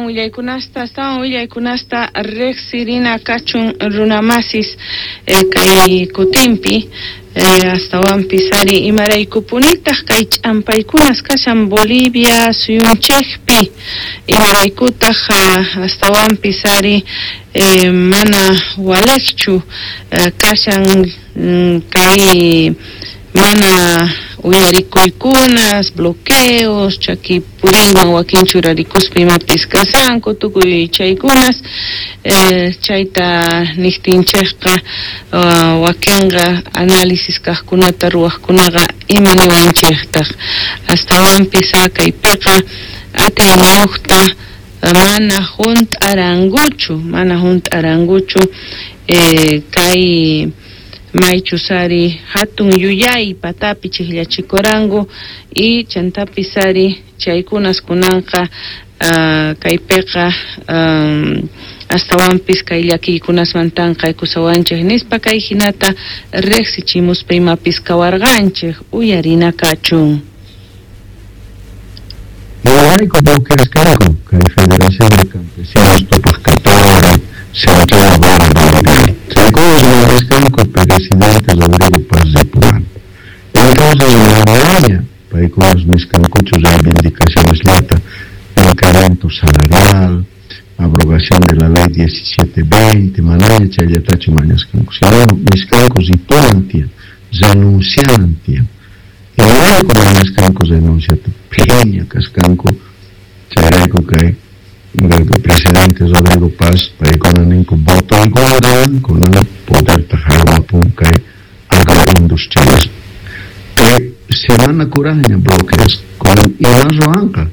Astawan willaykunasta riqsirina kachun runamasis kay kutinpi, astawanpis ari imaraykupunitaq kay ch'ampaykunas kashan Bolivia suyunchikpi, imaraykutaq astawanpis ari mana waliqchu kashan kay mana uyarikuykunas, bloqueos, chaki puriywan wakin churarikuspa imapis kashanku, tukuy chaykunas, chayta niqtinchikqa wakinqa análisis kaqkunata ruwaqkunaqa ima niwanchiktaq, astawanpis kaypiqa atiyniyuqta mana hunt'arankuchu kay maychus ari hatun yuyay patapi chikllachikuranku y chantapis ari chaykunas kunanqa kaypiqa astawanpis kay llakiykunasmantanqa aykusawanchik nispa kay hinata riqsichimuspa imapis kawarqanchik uyarina kachun. Imarayku bloqueasqanku kay Federación de Campesinos Tupac Katari, Central Obrera Boliviana. Chaykunas mañasqanku presidente Rodrigo Paz ripunanta. Entonces manaña paykunas nisqankuchu reivindicaciones llata, incremento salarial, abrogación de la ley 1720, manaña chayllatachu mañasqanku, sino nisqanku ripunan tiyan, renuncianan tiyan. Imarayku mañasqanku renunciata, phiña kasqanku, chayrayku kay presidente Rodrigo Paz paykuna ninku votoykuna dan kunan poderta haywapun kay agroindustriales. Kay semana kuraqña bloqueas kunan ima ruwanqa.